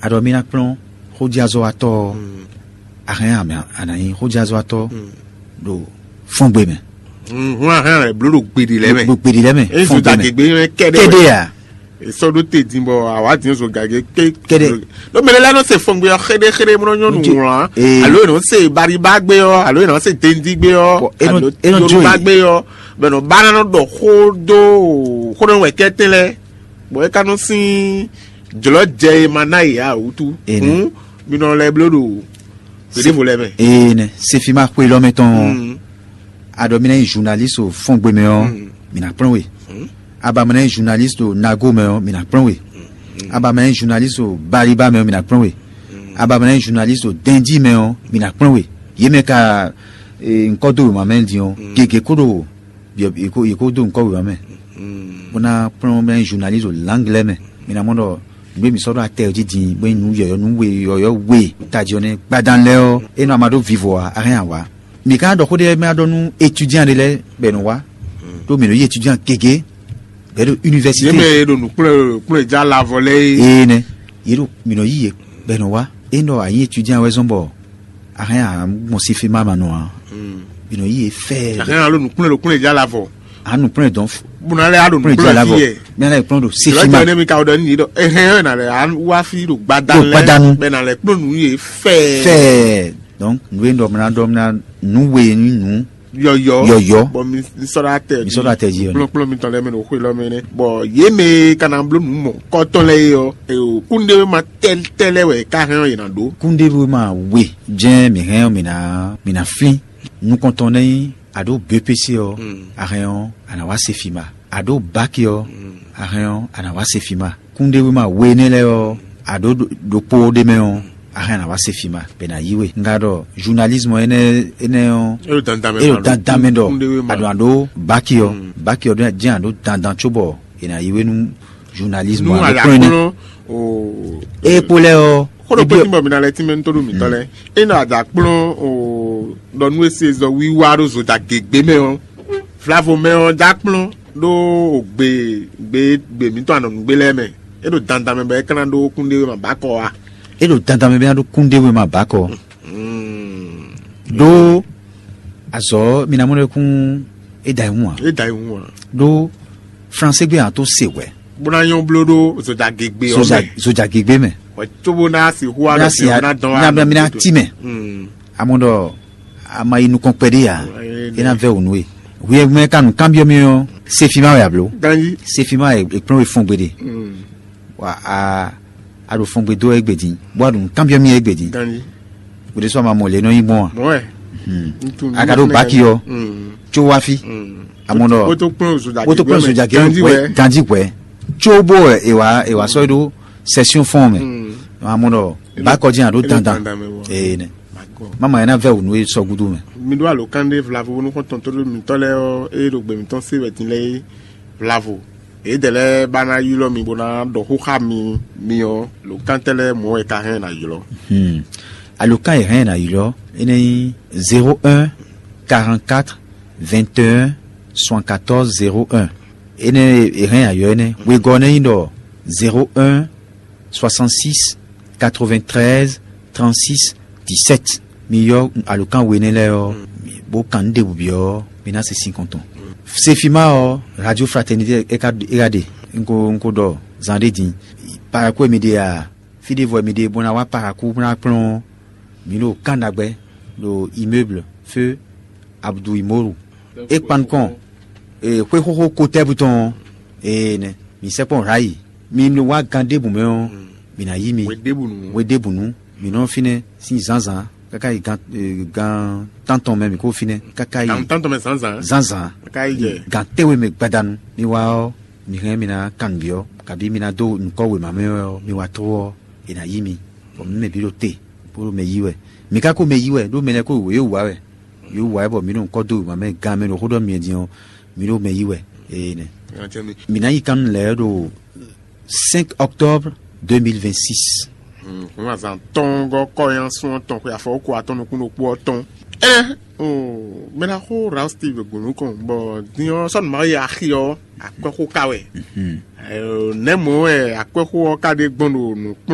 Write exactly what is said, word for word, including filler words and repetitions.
Aɖɔ mi ná kplɔ́n xójíazɔ́watɔ́ ɔ́, a hɛn a nǎ nyí xójíazɔ́watɔ́ ɖo fɔ́ngbe mɛ. Hun a hɛn lɛ bló ɖo gbeɖi lɛ́ mɛ. Ɖo gbeɖi lɛ́ mɛ. Eye zodagegbe mɛ kɛɖɛ kɛɖɛ a? Esɔ ɖó te din bɔ awa din zogage ké kɛɖɛ. Ɖo mɛ lɛ nɔ se fɔngbe ɔ xeɖe xeɖe mɔ nyɔnu wlán, alo e nɔ se bariba gbe ɔ, alo e nɔ se dendi gbe ɔ, alo yoruba gbe ɔ, bɛ nɔ ba nɔ ɖɔ xó dó xó nɔ wɛ kɛtɛ lɛ, bɔ e ka nɔ sin jlɔ jɛ e ma na yi a wutu. Hun mi nɔ lɛ bló ɖo gbeɖevo lɛ mɛ. Ee nɛ sefi ma xwe lɔ mɛ tɔn. Aɖɔ mi ná nyí journaliste o fɔngbe mɛ ɔ́, mi ná kplɔ́n we. Aba mɛ ná nyí journaliste o nago mɛ ɔ́, mi ná kplɔ́n we. Aba mɛ ná nyí journaliste o baliba mɛ ɔ́, mi ná kplɔ́n we. Aba mɛ ná nyí journaliste o dɛnjí mɛ ɔ́, mi ná kplɔ́n we. Yě mɛ ka ŋkɔ dó wěma mɛ din ɔ́, gěgé kó ɖo yě kó dó ŋkɔ wěma mɛ, bó ná kplɔ́n mɛ journaliste o langue lɛ́ɛ mɛ. Mi ná mɔ ɖɔ nǔ e mǐ sɔ́ ɖó atɛ ɔ́ jí din, bó nyí nǔ yɔ̌yɔ́ nú we yɔ̌yɔ́ we tají ɔ́ nɛ́ gbadán lɛ́ɛ ɔ́, é nɔ ama ɖó vivo ǎ, a hɛn ǎ wá. Mǐ ka ɖɔ xó ɖé mɛ wá ɖɔ nú étudiant ɖé lɛ́ɛ bɔ è nɔ wá, ɖó mǐ nɔ yí étudiant gěgé bɛ̌ ɖo yě université. Mɛ e ɖo nǔkplɔ́n kplɔ́n e já lavɔ lɛ́ɛ é. Ee nɛ, yě ɖo mǐ nɔ yí yě bɔ è nɔ wá. É nɔ a nyí étudiant wɛ zɔ́n bɔ a hɛn a gbɔn sifi ma ma nɔ ǎ. Mǐ nɔ yí yě fɛ́ɛ. A hɛn alo nǔkplɔ́n ɖo kplɔ́n e já lavɔ. A nǔkplɔ́n dɔn. Bó ná lɛ́ a ɖo nǔkplɔ́n e já lavɔ. Mí ná lè kplɔ́n ɖo sifi ma. Lọ́jọ́ ní mi ka wɔ ɖɔ ní yí ɖɔ ehɛn ɛ nà lɛ wá fi ɖo gbadanu. Ɖo gbadanu. Bɛ nà lɛ kplɔ́n nǔ yě fɛ́ɛ. Fɛ́ɛ. Donc nǔ e ɖɔ mla ɖɔ mla nǔ we ní nǔ yɔyɔ. Yɔyɔ. Bɔ mi sɔɖɔ atɛ. Mi sɔɖɔ atɛ jí yɔ. Kplɔ́n kplɔ́n mi tɔn lɛ mi ɖo xwe lɔ mɛ nɛ. Bɔ yě mɛ ka na bló nǔ mɔ kɔtɔn lɛ yɔ. Eo kúndé ma tɛlɛ wɛ ká hɛn yě na ɖó. Kúndé ma we jɛn mi hɛn mi na mi na flin. Nukɔntɔn nɛ a ɖo B P C ɔ, a hɛn ɔ, a nǎ wá se fi ma. A ɖo baki ɔ, a hɛn ɔ, a nǎ wá se fi ma. Kúndéwéma we énɛ́ lɛ́ɛ ɔ́, a ɖǒ ɖokpó ɖé mɛ ɔ́, a hɛn a nǎ wá se fi ma bɔ è nǎ yí we. Un ka ɖɔ journalisme énɛ́ énɛ́ ɔ́, é ɖo dandan mɛ é ɖo ma ɖo dandan mɛ ɖɔ kúndéwéma. A ɖo a ɖó baki ɔ, baki ɔ jɛ́n a ɖó dandan cóbɔ è nǎ yí we nú journalisme nú a ɖo kplɔ́n énɛ́. Kplɔ́n o. É kpó lɛ́ɛ ɔ́, xó ɖokpó tí bɔ mi ná lɛ tínmɛ nítorí mi tɔn lɛ é nɔ ada kplɔ́n o ɖɔ nú e se zɔ wiwa ɖo zoda gěgbé mɛ ɔ́, vlavo mɛ ɔ́ dá kplɔ́n ɖó gbe gbe gbe mǐtɔn anɔnugbe lɛ́ɛ mɛ. É ɖo dandan mɛ bɔ é ka ná ɖó kúnɖé ma bǎkɔ wá. É ɖo dandan mɛ bɔ é ná ɖó kúnɖé ma bǎkɔ. Ɖó azɔ̌ mi ná mɔ ɖɛkún é da yi hun ǎ. É da yi hun ǎ. Ɖó fransé gbé hàn tó se hwɛ. Bó ná nyɔ́ bló ɖó zodagegbe ɔ́ mɛ. Zodagegbe mɛ. Wɛ tó bó ná si hu alɔ si ɔ́ ná dán wá. Ná mi ná tí mɛ. Amɔ ɖɔ a ma yi nukɔn kpɛɖé ǎ. É ná vɛ wǔ nú we. Hwi e mɛ ka nǔ kanbyɔ́ mì ɔ́, sefi ma wɛ a blǒ. Ganji. Sefi ma wɛ è kplɔ́n we fɔ́n gbeɖe. Wa a a ɖo fɔ́n gbe dó wɛ égbé din, bó a ɖo nǔ kanbyɔ́ mì wɛ égbé din. Ganji. Wò ɖésú a ma mɔ lě nɔ nyí gbɔn a? Mɔ̌ wɛ. A ka ɖó baki ɔ́, tso wá fí. Amɔ ɖɔ wó tó kplɔ́n zodagegbe wó tó kplɔ́n zodagegbe ganji wɛ. Ganji wɛ. Tso bó wɛ è wá è wá sɔ́ ɖó sɛsíɔn fɔ́n mɛ. Amɔ ɖɔ bákɔ jẹ́ àɖó dandan. Ee nɛ. Mama yẹn ná vɛ wò nú e sɔgúdú mɛ. Mi ɖó alǒkan ɖé vlavo nú xɔ́ntɔn tó ɖó mitɔ́ lɛ́ɛ ɔ́, ée ɖo gbe mitɔn se wɛ din lɛ́ɛ é vlavo. Yědɛɛ lɛ́ɛ ba ná ylɔ́ mi bó ná ɖɔ xó xá mi mi ɔ́, lǒkántɛ́ lɛ́ɛ mɔ̌ wɛ ka hɛn ná ylɔ́. Alǒkan e hɛn ná ylɔ́ é nɛ́ nyí zéro un quarante quatre vingt et un soixante quatorze zéro un. Énɛ́ e hɛn ayɔ énɛ́ wegɔ́ nɛ́ nyí ɖɔ zéro un soixante six quatre vingt treize trente six dix sept. Mi yɔ alǒkan we énɛ́ lɛ́ɛ ɔ́, bó kan nǔ ɖěbǔ byɔ́ mi ná se sin kɔn tɔn. Sefima ɔ́, radio fraternité é ka é ka ɖe. Un ko un ko ɖɔ zan ɖé din. Paraku e mi ɖe a, fí ɖěvo e mi ɖe bó ná wá paraku bó ná kplɔ́n mi ɖo kan ɖagbɛ ɖo immeuble feu Abdou Imoru. É kpan nukɔn xwé xóxó kotɛ́bu tɔn ɔ́, ee nɛ mi sɛkpɔ́ rayi. Mi nɔ wá gan ɖěbǔ mɛ ɔ́, mi ná yí mi. Hwe ɖěbǔnu. Hwe ɖěbǔnu, mi nɔ fínɛ́ sín zǎnzǎn káká yi gan gan tántɔn mɛ mi kó fínɛ́ káká yi gan tántɔn mɛ zǎnzǎn zǎnzǎn káká yi jɛ gan tɛ́nwe mɛ gbadanu. Mi wá ɔ́, mi hɛn mi ná kan nǔ byɔ́, kabí mi ná dó nǔkɔ wěma mɛ ɔ́, mi wá tró ɔ́, è nǎ yí mi, bɔ mǐ mɛ bǐ ɖo te bó ɖo mɛ yí wɛ. Mi ka ko mɛ yí wɛ ɖó mɛ lɛ́ɛ ko wě wá wɛ. Yǒ wá wɛ bɔ mǐ ɖo nukɔn dó wěma mɛ gan mɛ ɖo xó ɖɔ mi din ɔ́, mǐ ɖo mɛ yí wɛ. Ee nɛ. Mǐ ná yi kan lɛ́ɛ ɖo cinq octobre deux mille vingt six. Hǔn azǎn tɔn gɔ́ kɔ́nyasun ɔ́ tɔn xwe afɔwókú atɔn nukún ɖokpó ɔ́ tɔn. Ɛnɛ mɛ ná xó Ralph Steve gǔnukɔn bɔ din ɔ́ sɔ́ nǔ ma yi axi ɔ́ akwɛ́xó ka wɛ. Nɛ̌ mɔ̌ wɛ akwɛ́xó ɔ́ ka ɖe gbɔn ɖo nǔkplɔ́n